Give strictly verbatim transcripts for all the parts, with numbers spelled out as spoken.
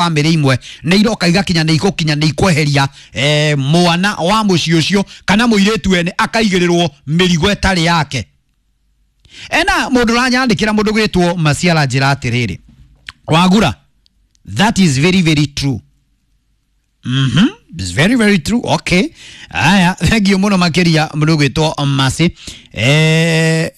Bamĩrĩ imwe nĩ iroka igakinya nĩ ikũkinya nĩ ikweheria eh, mwana wa mũciĩ ũcio kana mũirĩtu ene akaigĩrĩrwo mĩrigo ĩtarĩ yake. Ena mũndũ ũranyandĩkĩra, mũndũ gwĩtwo Maciara, njĩra atĩrĩrĩ, "Wagura, that is very very true." Mhm, it's very very true. Okay. Aya, thank you muno makiria mũndũ gwĩtwo Masi. Eh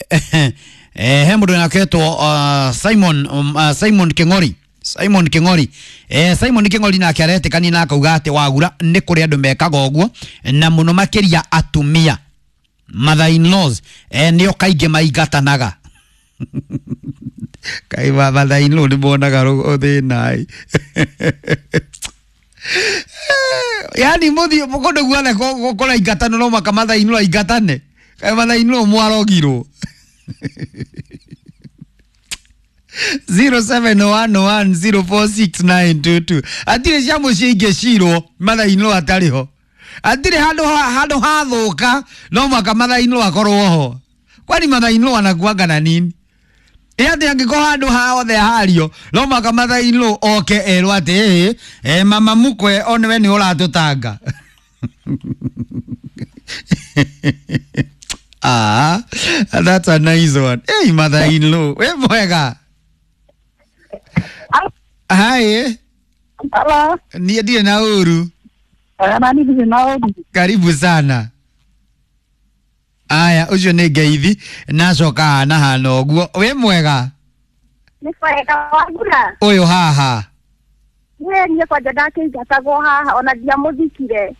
eh he mũndũ naketwo uh, Simon um, uh, Simon King'ori. Simon King'ori. Eh Simon King'ori nake aretĩkania na akauga atĩ, "Wagura, nĩ kũrĩ andũ mekaga ũguo na mũno makĩria atumia mother in laws eh, nĩo kaingĩ maingatanaga." Kai mother in law nĩ monaga thĩna, yani muthie kundu guothe kũraingatana no maka mother in law aingatane. Kai mother in law mwarogirwo. zero seven one one zero four six nine two two. Atirĩ cia mũciĩ ingĩcirwo mother in law atarĩ ho. Atirĩ handũ handũ hathũka no maka mother in law akorwo ho. Kwani mother in law anakuanga na nini? Ĩ atĩ angĩkorwo handũ hothe hario no maka mother in law oke erwo atĩ ĩ eh, mama mukwe onewe nĩ ũratũtanga. Ah, that's a nice one. Hey, mother in law, we mwega. Hi. Hello. Niĩ ndirĩ na ũru. Nani ndirĩ na ũru. Karibu sana. Aya, ũcio nĩ ngeithi nacoka hana hana ũguo. Wĩ mwega? Nĩ kwega, Wagura. Ũyũ haha. Niĩ niĩ kwanja ndakĩingatagwo haha ona ndiamũthikire.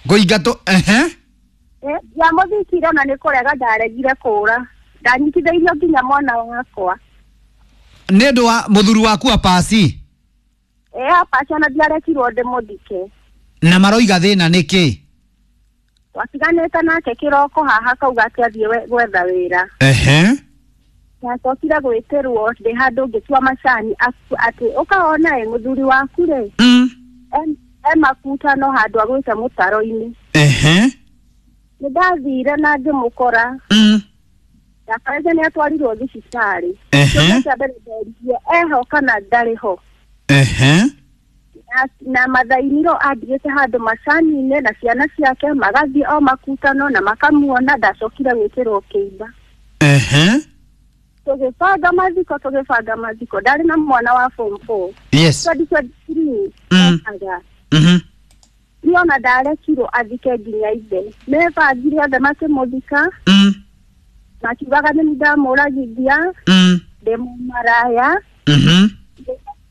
Kũingatwo ehe. Eh, ndiamũthikire ona nĩ kũrega ndaregire kũra. Ndanyitithĩirio nginya mwana wakwa. Nĩ ũndũ wa mũthuri waku apasi? Eh, apasi ona ndiarekirwo ndĩmũthike. Na maroiga thĩna nĩ kĩ? Twatiganĩte nake kĩroko haha kauga atĩ athiĩ gwetha wĩra. Ehe. Ndacokire gwĩtĩrwo ndĩ handũ ngĩtua macani atĩ ũkaona ĩ mũthuri waku rĩ. Mm. E makutano handũ agwĩte mũtaro-inĩ. Ehe. Nĩ ndathire na ngĩmũkora. Mm. Ndakarĩte nĩ atwarirwo thibitarĩ. Ehe. Kĩũria kĩa mbere ndoririe eho kana ndarĩ ho. Ehe. Na, na mathainiro andigĩte handũ macani-inĩ na ciana ciake magathiĩ o makutano na makamuona. Ndacokire gwĩkĩrwo kĩimba. Ehe. Tũgĩbanga mathiko tũgĩbanga mathiko ndarĩ na mwana wa form four. Yes. twenty twenty three. Mm. Mhm. Niĩ ona ndarekirwo athike nginya ithe. Mebangire othe makĩmũthika. Mm. Makiugaga nĩ ndamũragithia. Mm. Ndĩ mũmaraya. Mhm.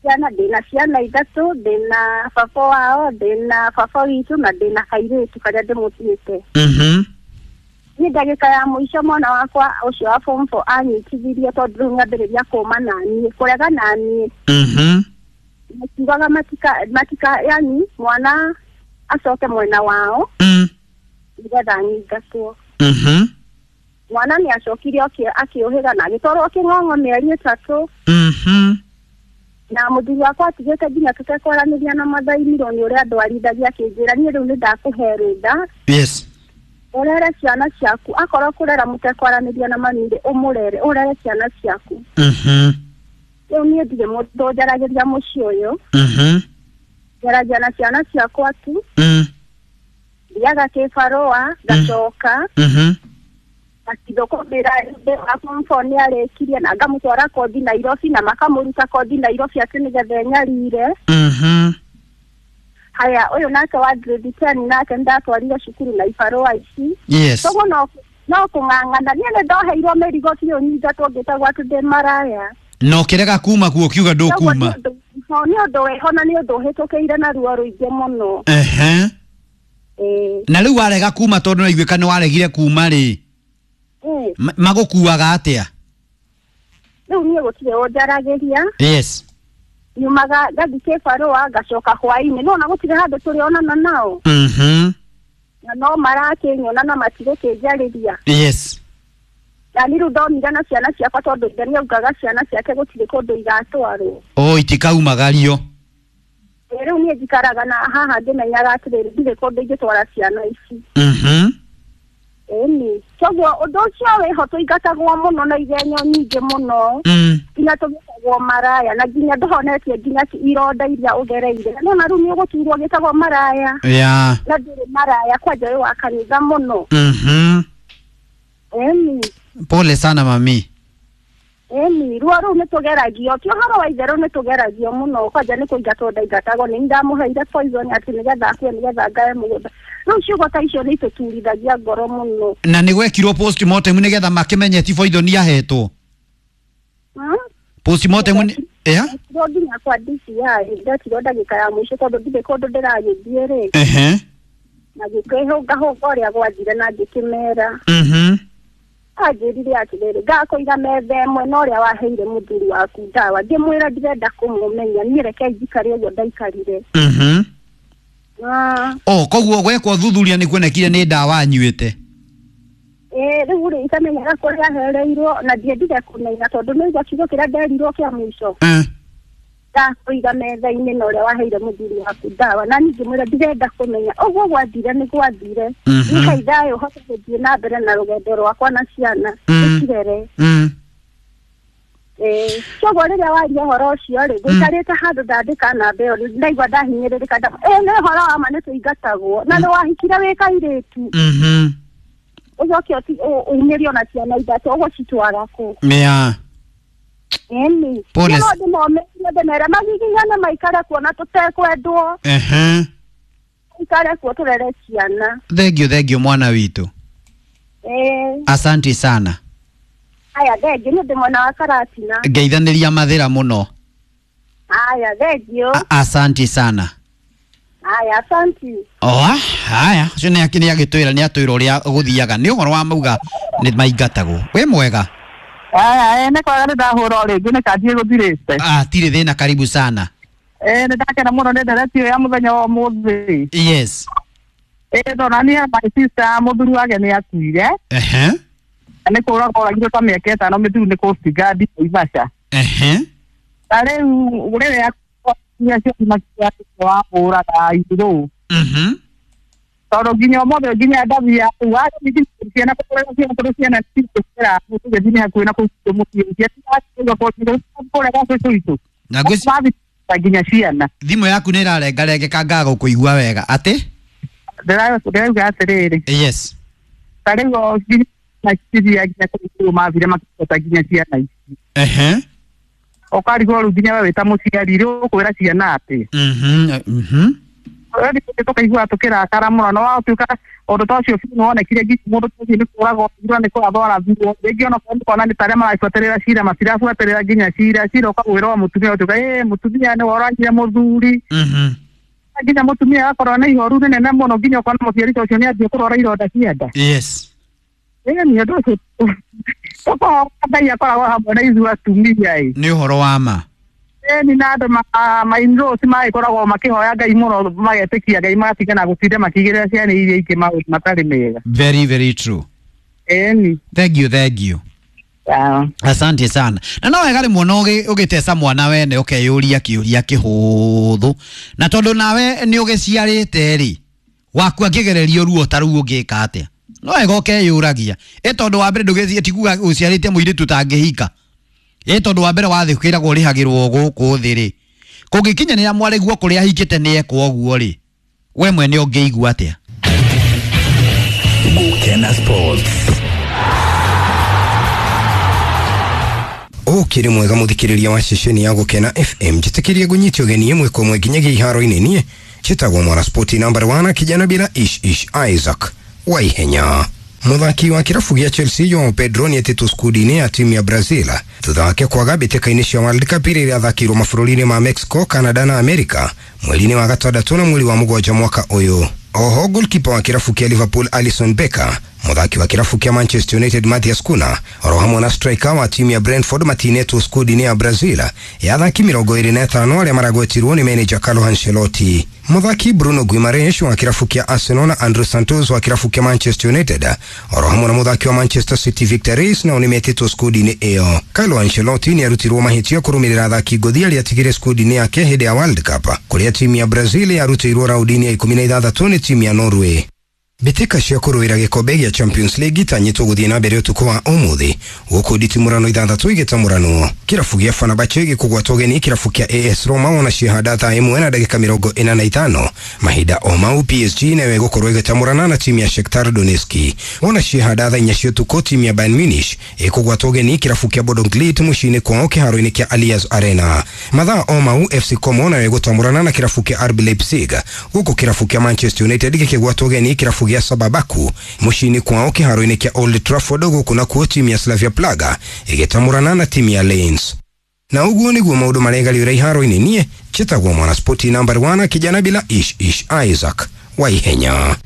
Ciana ndĩna ciana ithatũ, ndĩna baba wao, ndĩna baba witũ na ndĩna kairĩtu karĩa ndĩmũtuĩte. Mhm. Niĩ ndagĩka ya mũico mwana wakwa ũcio wa form four anyitithirie tondũ rĩu nĩambĩrĩria kũma naniĩ, kũrega naniĩ. Mhm. Makiugaga matika matika yani mwana acoke mwena wao. Mm. Nĩgetha anyingatwo. Mhm. Mwana nĩ acokire akĩũhĩga na agĩtwarwo kĩng'ong'o mĩeri ĩtatũ. Mhm. Na mũthuri wakwa atigĩte nginya tũtekwaranĩria na mathainiro nĩ ũrĩa ndwarithagia akĩnjĩra niĩ rĩu nĩ ndakũhe rũtha. Yes. Ũrere ciana ciaku akorwo kũrera mũtekwaranĩria na mami rĩ ũmũrere ũrere ciana ciaku. Mhm. Rĩu niĩ ndirĩ mũndũ njaragĩria mũciĩ ũyũ. Mhm. Njaragia na ciana ciakwa tu. Mm. Thiaga kĩbarũa ngacoka. Mhm. Akithũkũmĩra wa form four nĩ arĩkirie na ngamũtwara kothi Nairobi na makamũruta kothi Nairobi atĩ nĩgetha enyarire. Mhm. Haya ũyũ nake wa grade ten nake ndatwarire cukuru na ibarũa ici. Yes. Koguo no no kũng'ang'ana niĩ nĩ ndoheirwo mĩrigo biũ nyingatwo ngĩtagwo atĩ ndĩ maraya. Na ũkĩrega kuma kuo ũkiuga ndũkuma. Nĩ ũndũ wĩho na nĩ ũndũ ũhĩtũkĩire na ruo rũingĩ mũno. Ehe. Ĩĩ. Na rĩu warega kuma tondũ nĩwaiguĩka nĩ waregire kuma rĩ. Magũkuaga atĩa? Rĩu niĩ gũtirĩ ũnjaragĩria. Yes. Nyumaga ngathiĩ kĩbarũa ngacoka hwaĩ-inĩ no ona gũtirĩ handũ tũrĩonana nao. Mhm. Na no marakĩnyona na matigũkĩnjarĩria. Yes. Na niĩ rĩu ndonire na ciana ciakwa tondũ ithe nĩaugaga ciana ciake gũtirĩ kũndũ igatwarwo. Oh, itikaumagario. Rĩu niĩ njikaraga na haha ngĩmenyaga atĩrĩrĩ ndirĩ kũndũ ingĩtwara ciana ici. Mhm. Ĩni koguo ũndũ ũcio wĩho tũingatagwo mũno na igenyo nyingĩ mũno Mm. nginya tũgĩtagwo maraya na nginya ndũhonetie nginya ironda iria ũgereire no na rĩu nĩ ũgũturwo gĩtagwo maraya Yeah. na ndũrĩ maraya kwanja wĩ wa kanitha mũno. Mhm. Ĩni. Pole sana mami. Ĩni ruo rũu nĩ tũgeragio ti ũhoro wa itherũ nĩ tũgeragio mũno kwanja nĩ kũingatwo ndaingatagwo nĩ ndamũheire poison atĩ nĩgetha akue nĩgetha ngae mũgũnda rĩu ciugo ta icio nĩ itũturithagia ngoro mũno. Na nĩ gwekirwo postmortem nĩgetha makĩmenye ti poison yahetwo. Hmm? Postmortem nĩ yeah? Ndetirwo nginya kwa D C I ndetirwo ndagĩka ya mũico tondũ ndirĩ kũndũ ndĩragĩthiĩ rĩ. Ehe. Na ngĩkĩhũngahũnga ũrĩa gwathire na ngĩkĩmera. Mhm. Anjĩrire atĩrĩrĩ ngakũiga metha ĩmwe na ũrĩa waheire mũthuri waku ndawa ngĩmwĩra ndirenda kũmũmenya niĩ reke njikare ũguo ndaikarire. Mhm. Ah. Oh, koguo gwekwo thuthuria nĩ kuonekire nĩ ndawa anyuĩte. Ĩĩ rĩu rĩ itamenyaga kũrĩa ahereirwo na ndiendire kũmenya tondũ nĩ kiugo kĩrĩa nderirwo kĩa mũico. Eh. Ndakũiga metha-inĩ na ũrĩa waheire mũthuri waku ndawa na niĩ ngĩmwĩra ndirenda kũmenya ũguo gwathire nĩ gwathire. Mhm. Nĩkai thayũ hote gũthiĩ na mbere na rũgendo rwakwa na ciana Mm. tũcirere. Mm. Ĩĩ koguo rĩrĩa waria ũhoro ũcio rĩ ngũikarĩte handũ ndandĩka namba ĩyo ndaigua ndahinyĩrĩrĩka nda ĩĩ nĩ ũhoro wa ma nĩ tũingatagwo na nĩ wahikire wĩ kairĩtu. Mhm. Ũcoke ũti- ũ- umĩrio na ciana ithatũ ũgũcitwara kũ? Yeah. Ĩni. Pole. No ndĩmomĩrie ndĩmere magiginyane maikare kuo na tũtekwendwo. Ehe. Maikare kuo tũrere ciana. Thank you, thank you mwana witũ. Ĩĩ. Asante sana. Aya thengiũ nĩ ndĩ mwena wa Karatina. Ngeithanĩria mathĩra mũno. Aya thengiũ. A- Asante sana. Aya asanti. Oa, haya, ũcio nĩ nĩ agĩtwĩra nĩ atwĩra ũrĩa gũthiaga nĩ ũhoro wa mauga nĩ maingatagwo. Wĩ mwega? Aya, eh, nĩ kwega nĩ ndahũra o rĩngĩ nĩ kanjie gũthirĩte. Ah, tirĩ thĩna, karibu sana. Eh, nĩ ndakena mũno nĩ ndereti ĩyo ya mũthenya wa ũmũthĩ. Yes. Ĩ ndona niĩ my sister mũthuri wake nĩ akuire. Ehe. Na nĩ kũragwo oragirwo ta mĩaka ĩtano mĩthiru nĩ Coast Guard Naivasha. Ehe. Na rĩu rĩrĩa acio makiuga wamũraga itherũ. Mhm. Tondũ nginya ũmũthĩ nginya ndathiaga kũu athiĩ ciana kũrĩa ciana tondũ ciana cigũkĩra tũgĩthiĩ nĩ hakuhĩ na kũu gwitũ mũciĩ ciana kũrĩa gwa cũcũ witũ. Na ngwĩci Mathiĩ nginya ciana. Thimũ yaku nĩ ĩrarengarengeka ngaga gũkũigua wega. Atĩ? Ndĩrauga atĩrĩrĩ. Yes. Ta rĩu o nginya cithia nginya kũu mathire makĩhota nginya ciana ici. Ehe. Ũkarigwo rĩu nginya we wĩ ta mũciari rĩ ũkwĩra ciana atĩ. Mhm. Mhm. Rĩu tũkaigua tũkĩrakara mũno na watuĩka ũndũ ta ũcio biũ nĩwonekire nginya mũndũ ta ũcio nĩ kũragwo nĩ kũrathwo arathirwo rĩngĩ ona korwo nĩũkona nĩ ta arĩa marabuatĩrĩra cira matirabuatĩrĩra nginya cira cira ũkagwĩrwo mũtumia ũtuĩka ĩ mũtumia nĩwe ũragire mũthuri. Mhm. Nginya mũtumia agakorwo na ihoru rĩnene mũno nginya ũkona mũciari ta ũcio nĩanjia kũrwara ironda cia nda. Yes. Ĩ nĩ ũndũ ũcio tũkohoya Ngai akoragwo hamwe na ithuĩ atumia ĩ. Nĩ ũhoro wa ma. Ĩni na andũ ma in-laws magĩkoragwo makĩhoya Ngai mũno magetĩkia Ngai magatigana gũtinda makĩigĩrĩra ciana iria ingĩ maũndũ matarĩ mega. Very very true. Ĩni. Thank you, thank you. Ah. Asante sana. Na no wega rĩmwe no ũgĩteca mwana wene ũkeyũria kĩũria kĩhũthũ. Na tondũ nawe nĩ ũgĩciarĩte rĩ, waku angĩgererio ruo ta rũu ũngĩka atĩa? No wega ũkeyũragia. Ĩ tondũ wa mbere ndũgĩthiĩ ti kuga ũciarĩte mũirĩtu ũtangĩhika. Ĩ tondũ wa mbere wathiĩ kwĩragwo ũrĩhagĩrwo gũkũ thĩ rĩ. Kũngĩkinyanĩra mwarĩguo kũrĩa ahikĩte nĩ ekwo ũguo rĩ, we mwene ũngĩigua atĩa? Gukena Sports. Ũkĩrĩ mwega mũthikĩrĩria wa ceceni ya Gũkena F M njĩtĩkĩrie ngũnyite ũgeni ĩmwe kwa ĩmwe nginyagia iharo-inĩ niĩ njĩtagwo mwana spoti number one kijana bila ish ish Isaac Waihenya. Mũthaki wa kĩrabu gĩa Chelsea Joao Pedro nĩetĩtwo skundi-inĩ ya timu ya Brazil thutha wake kwaga mbĩtĩka-inĩ cia World Cup iria irathakĩirwo mabũrũri-inĩ ma Mexico, Canada na America mweri-inĩ wa gatandatũ na mweri wa mũgwanja mwaka ũyũ. Oho goalkeeper wa kĩrabu kĩa Liverpool Alisson Becker, mũthaki wa kĩrabu kĩa Manchester United Matthias Cunha oro hamwe na striker wa timu ya Brentford matinetwo skundi-inĩ ya Brazil ya athaki mĩrongo ĩrĩ na ĩtano arĩa maragwetirwo nĩ manager Carlo Ancelotti. Mũthaki Bruno Guimaraes wa kĩrabu kĩa Arsenal na Andre Santos wa kĩrabu kĩa Manchester United oro hamwe na mũthaki wa Manchester City Victor Reis nao nĩmetĩtwo skundi-inĩ ĩyo. Carlo Ancelotti nĩarutirwo mahĩtia kũrũmĩrĩra athaki ngũthi arĩa atigire skundi-inĩ yake hĩndĩ ya World Cup kũrĩa timu ya Brazil yarutĩirwo raũndi-inĩ ya ikũmi na ithathatũ nĩ timu ya Norway. Mbĩtĩka cia kũrũĩra gĩkombe gĩa Champions League itanyĩtwo gũthiĩ na mbere ũtukũ wa ũmũthĩ, gũkũ nditimũrano ithathatũ igĩtamũranwo. Kĩrabu gĩa Fenerbahce gĩkũgwatwo ũgeni kĩrabu kĩa A S Roma wona ciehanda thaa ĩmwe na ndagĩka mĩrongo ĩna na ithano. Mahinda o mau, P S G nayo ĩgũkorwo ĩgĩtamũrana na timu ya Shakhtar Donetsk. Wona ciehanda thaa inya cia ũtukũ, timu ya Bayern Munich ĩkũgwatwo ũgeni kĩrabu kĩa Bodo Glimt mũciĩ-inĩ kwao kĩharo-inĩ kĩa Allianz Arena. Mathaa o mau, F C Como nayo ĩgũtamũrana na kĩrabu kĩa R B Leipzig, gũkũ kĩrabu kĩa Manchester United gĩkĩgwatwo ũgeni kĩrabu gĩa Sababaku mũciĩ-inĩ kwao kĩharo-inĩ kĩa Old Trafford, gũkũ nakuo timu ya Slavia Praga ĩgĩtamũrana na timu ya Lens. Na ũguo nĩguo maũndũ maregariũra iharo-inĩ. Niĩ njĩtagwo Mwanaspoti number one, kijana bila ish ish, Isaac Waihenya.